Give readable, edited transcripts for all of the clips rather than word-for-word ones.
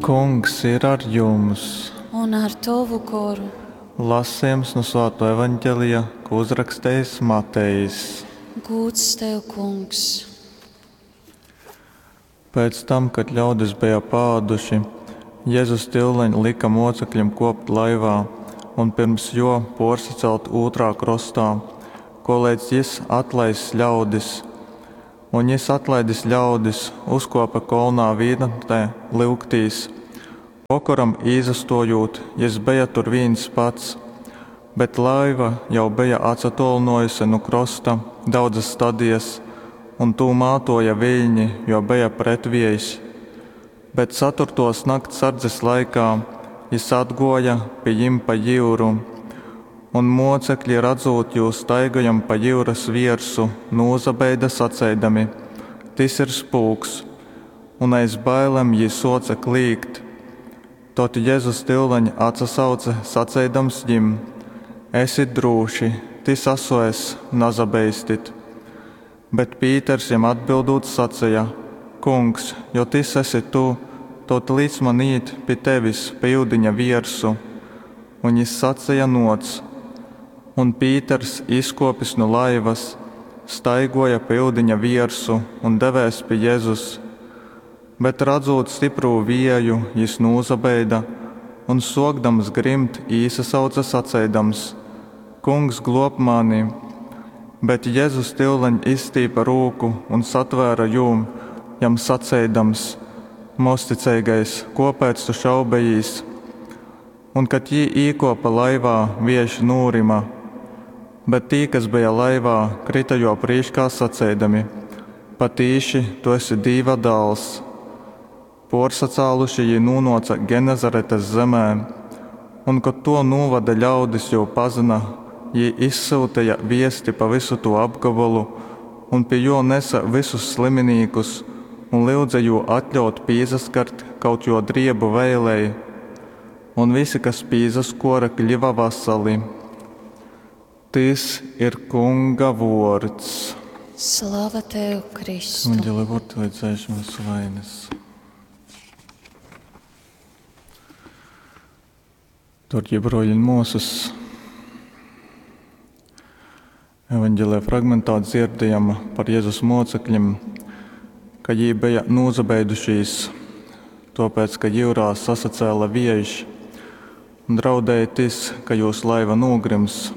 Kungs ir ar jums! Un ar tovu goru. Lasījums nu Svāto Evanģelija, ko uzrakstījis Matejs. Gūds tev, kungs! Pēc tam, kad ļaudis bija pāduši, Jēzus tyuleņ lika mocekļiem kopt laivā un pirms jo porsacelt ūtrā krostā, koleidz jis atlaiss ļaudis. Un jis atlaidis ļaudis, uzkopa kolnā vīnatnē lyugtīs. Vokoram īsastojūt, jis beja tur vīns pats, bet laiva jau beja atsatōlynōjuse nu krosta daudzas stadijas, un tū mātōja viļni, jo beja pretviejs. Bet caturtōs nakts sardzes laikā jys atgōja pi jim pa jyuru. Un mōcekli, radzūt jū staigojam pa jyuras viersu, nūsabeida saceidami, Tys ir spūks! Un aiz bailem jī sōce klīgt. Tod Jezus tyuleņ atsasauce, saceidams jim, Esit drūši, tys asu es, nasabeistit! Bet Pīters jam atbyldūt saceja, Kungs, jo tys esi tu, tod lic man īt pi tevis pa yudiņa viersu. Un jys saceja, Nōc! Un Pīters, izkōpis nu laivas, staigōja pa yudiņa viersu un devēs pi Jezus. Bet, radzūt styprū vieju, jys nūsabeida un, sōkdams grimt, īsasauce saceidams, Kungs, glōb mani! Bet Jezus tyuleņ izstīpe rūku un satvēra jū, jam saceidams, Mozticeigais, kōpēc tu šaubejīs? Un, kad jī īkōpe laivā, viejš nūryma. Bet tī, kas beja laivā, kryta jō prīškā saceidami, Patīši, tu esi Dīva dāls. Pōrsacāluši jī nūnōce Genezaretes zemē. Un, kod tō nūvoda ļaudis jū pazyna, jī izsyuteja viesti pa vysu tū apgobolu un pi jō nese vysus sliminīkus un lyudze jū atļaut pīsaskart kaut jō driebu veilei. Un visi, kas pīsaskōre, kļiva vasali. Tys ir Kunga vōrds. Slava tev, Kristu! Evanģēlija vārdi lai dzēš mūsu vainas. Darbie broļi un māsas, evanģēlijā fragmentā dzirdējam par Jēzus mocekļiem, ka jī bija nūsabeidušies, tāpēc, ka jūrā sasacēla viejš un draudēja tis, ka jūs laiva nogrims.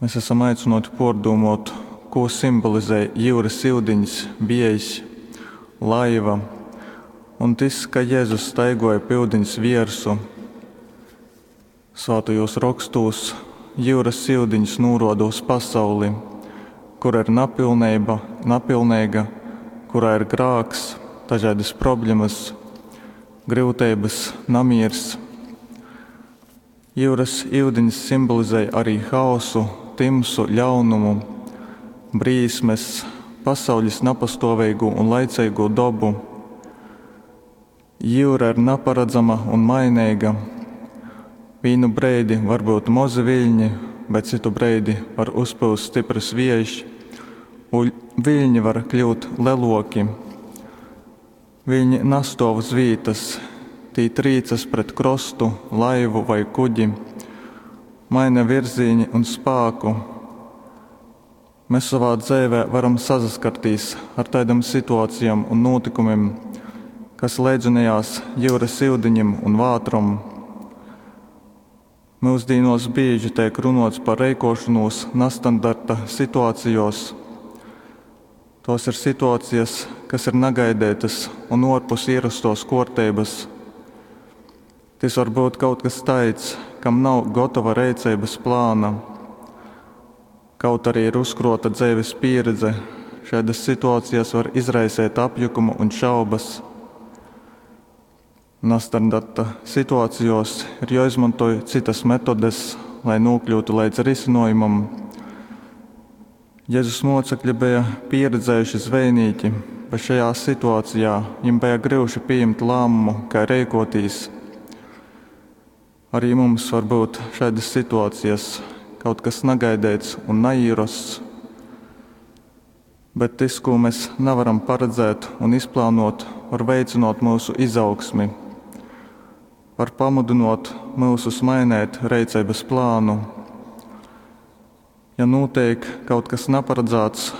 Mēs esam aicināti pārdomāt, ko simbolizē jūras ūdeņs, viejs, laiva un tas, ka Jēzus staigoja pa ūdens viersu. Svātajos rakstos jūras ūdeņs nūroda uz pasauli, kur ir napilneiba, napilneiga, kurā ir grāks, dažādas problēmas, grūtības, namīrs. Jūras ūdeņs simbolizē arī haosu, timsu, ļaunumu, brīsmes, pasaules napastāvīgo un laicīgo dabu. Jūra ir naparedzama un mainīga. Vīnu breidi var būt mozi viļņi, bet citu breidi var uzpūst stiprs viejš, un viļņi var kļūt leloki. Viļņi nastov uz vītas, tī trīcas pret krostu, laivu vai kuģi, maina virzīni un spāku. Mēs savā dzīvē varam saskarties ar tādām situācijām un notikumiem, kas leidzinājās jūras ūdeņiem un vātrom. Mūsdienos bieži tiek runots par reikošanos nestandarta situācijos. Tos ir situācijas, kas ir negaidētas un ārpus ierastos kārtības. Tas var būt kaut kas tāds, kam nav gatava rīcības plāna. Kaut arī ir uzkrota dzīves pieredze, šādas situācijas var izraisīt apjukumu un šaubas. Nestandarta situācijos ir jāizmanto citas metodes, lai nokļūtu līdz risinājumam. Jēzus mocekļi bija pieredzējuši zvejnieki, bet šajā situācijā viņiem bija grūti pieņemt lēmumu, kā rīkoties. Arī mums var būt šādas situācijas, kaut kas negaidīts un neīrasts. Bet tas, ko mēs nevaram paredzēt un izplānot, var veicynōt myusu izaugsmi. Var pamudynōt myusus maineit reiceibas plānu. Ja nūteik kaut kas naparadzāts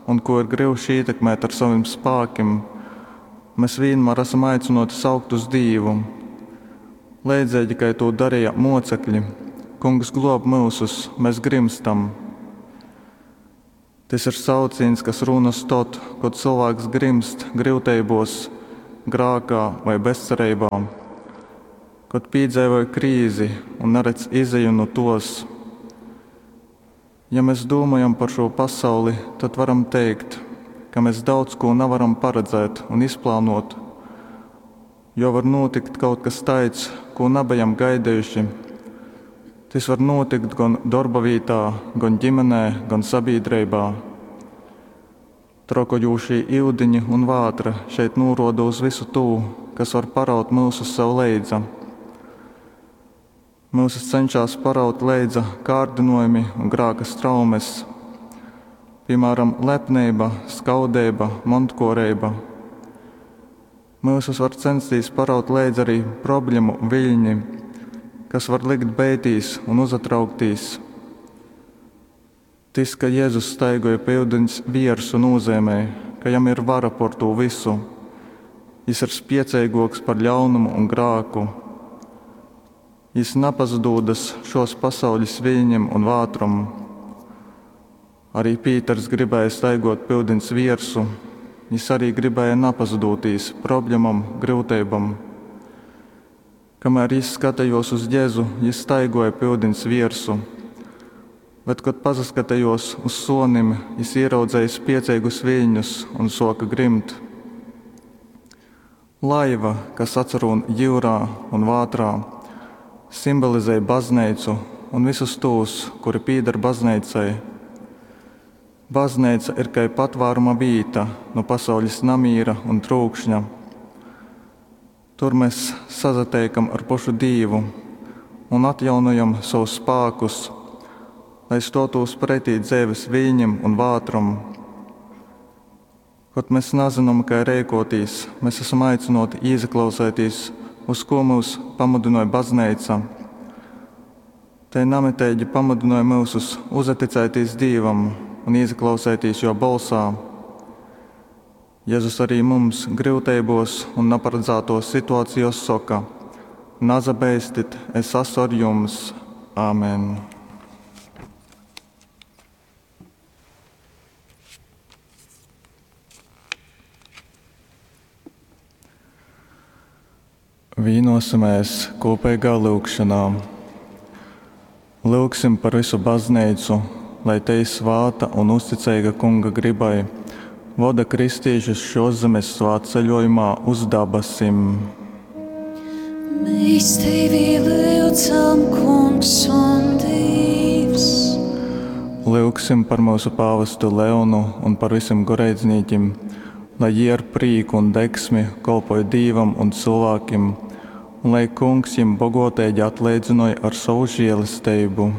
un kū ir gryuši ītekmēt ar sovim spākim, mes vīnmār asam aicynōti saukt uz Dīvu. Leidzeigi kai tū dareja mōcekli: Kungs, glōb myusus, mes grymstam! Tys ir saucīņs, kas rūnas tod, kod cylvāks grymst gryuteibōs, grākā vai bezcereibā, kod pīdzeivoj krīzi un naredz izeju nu tos. Ja mes dūmojam par šū pasauli, tad varam teikt, ka mes daudz kū navaram paredzēt un izplānōt, jo var nūtikt kaut kas taids, kū nabejam gaidejuši. Tys var nūtikt gon dorbavītā, gon ģimenē, gon sabīdreibā. Trokojūšī iudiņi un vātra šeit nūruoda uz vysu tū, kas var paraut myusus sev leidza. Myusus cenšās paraut leidza kārdynojumi un grāka straumes, piemēram, lepneiba, skaudeiba, montkuoreiba. Myusus var censties paraut leidza arī problēmu viļņi, kas var likt beitīs un uzatrauktīs. Tys, ka Jēzus staigoja pa iudiņs viersu, nozīmē, ka jam ir vara por tū visu. Jis ir spieceiguoks par ļaunumu un grāku. Jis napazadūdas šos pasaules viļņiem un vātrom. Arī Pīters gribēja staigot pa iudiņs viersu, jis arī gribēja napazadūtīs problemom, gryuteibom. Kamēr jis skatījos uz Jēzu, jis staigoja pa iudiņs viersu, bet, kad pasaskatījos uz sonim, jis ieraudzēja spiecīgus viļņus un soka grimt. Laiva, kas atsarūn jūrā un vātrā, simbolizē baznīcu un visus tos, kuri pīdar baznīcai. Baznīca ir kai patvāruma vīta no pasaules namīra un trūkšņa. Tur mēs sazateikam ar pašu Dīvu un atjaunojam savus spēkus, lai stotūs pretī dzeives viļņiem un vātrom. Kad mēs nezinām, kā rēkotīs, mēs esam aicināti ieklausēties, uz ko mūs pamudināja baznīca. Te namitīgi pamudināja mūsus uzaticēties Dievam un ieklausēties jo balsā. Jēzus arī mums gryuteibos un naparedzētos situācijos soka: Nazabeistit, es esmu ar jums. Āmen! Vīnosimies kopīgā lūgšanā. Lūgsim par visu baznīcu, lai te ir svāta un uzticīga Kunga gribai, voda kristīšus šos zemes svētceļojumā uz dabasim. Mēs tevi lūdzam, Kungs un Dievs. Lūgsim par mūsu pāvestu Leonu un par visiem goreidznīkiem, lai jie ar prīku un degsmi kolpoja Dīvam un cilvēkiem, un lai Kungs jiem bogotīgi atleidzinoja ar savu žēlastību.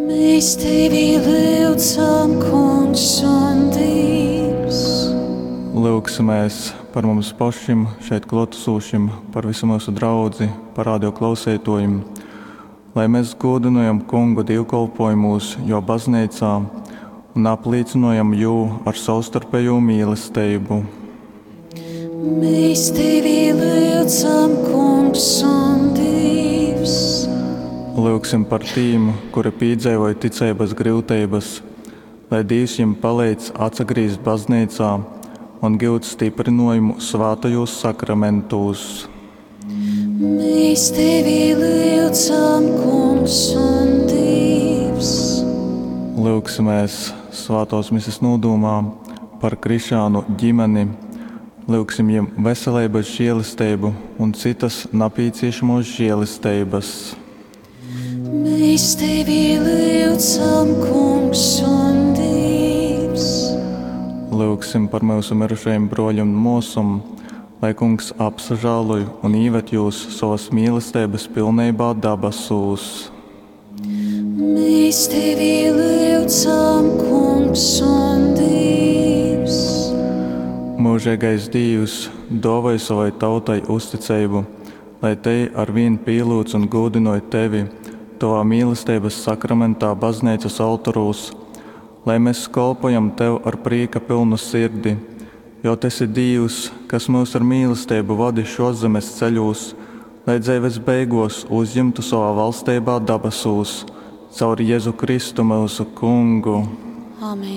Mēs tevi lūdzam, Kungs un Dievs. Lūgsimies par mums pašiem, šeit klātesošiem, par visu mūsu draudzi, par radio klausētojiem, lai mēs godinojam Kungu dievkalpojumos, jo baznīcā, un apliecinojam jū ar savstarpējo mīlestību. Mēs tevi lūdzam, Kungs un Dievs. Lūgsim par tīm, kuri piedzīvoja ticības grūtības, lai Dievs viņiem palīdz atsagrīzt baznīcā un gūt stiprinājumu svātajos sakramentos. Mēs tevi lūdzam, Kungs un Dievs. Lūgsimies svētos mises nodomā par Krišānu ģimeni. Lūgsim viņiem veselības žēlastību un citas nepieciešamos žēlastības. Mēs tevi lūdzam, Kungs un Dievs. Lūgsim par mūsu mirušajiem broļiem un mūsum, lai Kungs apsažāloj un ieved jūs savas mīlestības pilnībā dabasūs. Mēs tevi lūdzam, Kungs un Dievs. Myužeigais Dīvs, dōvoj sovai tautai uzticeibu, lai tei arvīn pīlyudz un gūdynoj tevi tovā mīlesteibas sakramentā bazneicas oltorūs, lai mes kolpojam tev ar prīka pylnu sirdi, jo tu esi Dīvs, kas myus ar mīlesteibu vodi šōszemes ceļūs, lai dzeives beigōs uzjimtu sovā valsteibā dabasūs. Caur Jezu Kristu, myusu Kungu. Amen.